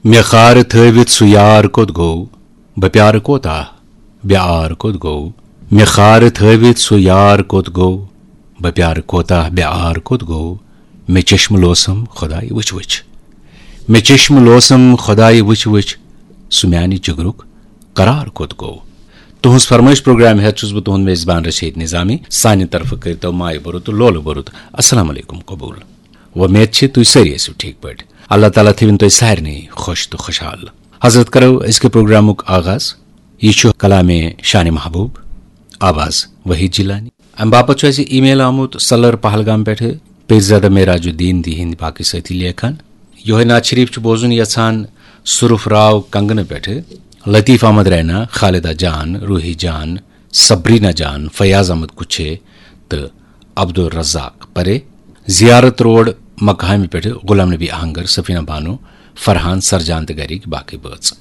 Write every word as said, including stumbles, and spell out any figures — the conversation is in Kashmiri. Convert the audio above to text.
مےٚ خارٕ تھٲوِتھ سُہ یار کوٚت گوٚو؟ بہٕ پیارٕ کوتاہ بے عار کوٚت گوٚو؟ مےٚ خارٕ تھٲوِتھ سُہ یار کوٚت گوٚو؟ بہٕ پیارٕ کوتاہ بے عار کوٚت گوٚو؟ مےٚ چشمہٕ لوسم خۄداے وٕچھ وٕچھ۔ مےٚ چشمہٕ لوسم خۄداے وٕچھ وٕچھ۔ سُہ میانہِ جگرُک قرار کوٚت گوٚو؟ تُہنٛز فرمٲیش پروگرام ہیتھ چھُس بہٕ تُہنٛد میزبان رشید نظامی۔ سانہِ طرفہٕ کٔرتو مایہِ بوٚرُت تہٕ لولہٕ بوٚرُت السلام علیکم قبول۔ وۄمید چھِ تُہۍ سٲری ٲسِو ٹھیک پٲٹھۍ۔ اللہ تعالیٰ تھٲوِن تُہۍ سارنٕے خۄش تہٕ خۄشحال۔ حضرت، کرو أزکہِ پروگرامُک آغاز۔ یہِ چھُ کلامِ شانِ محبوب، آواز وحید جیلانی۔ امہِ باپتھ چھُ اَسہِ ای میل آمُت سلر پہلگام پٮ۪ٹھٕ۔ پیرزادہ معراج الدین دی ہٕنٛدۍ باقٕے سٲتھی لیکھان۔ یِہوٚے نعت شریف چھُ بوزُن یژھان صرف راو کنگنہٕ پٮ۪ٹھٕ لطیف احمد رینا، خالدہ جان، روحی جان، صبرینا جان، فیاض احمد کچھے تہٕ عبدالرزاق پرے۔ زیارت روڈ مقامہِ پٮ۪ٹھٕ غلام نبی آہنگر، سفینہ بانو، فرحان سرجان تہٕ گرِکۍ باقٕے بٲژ۔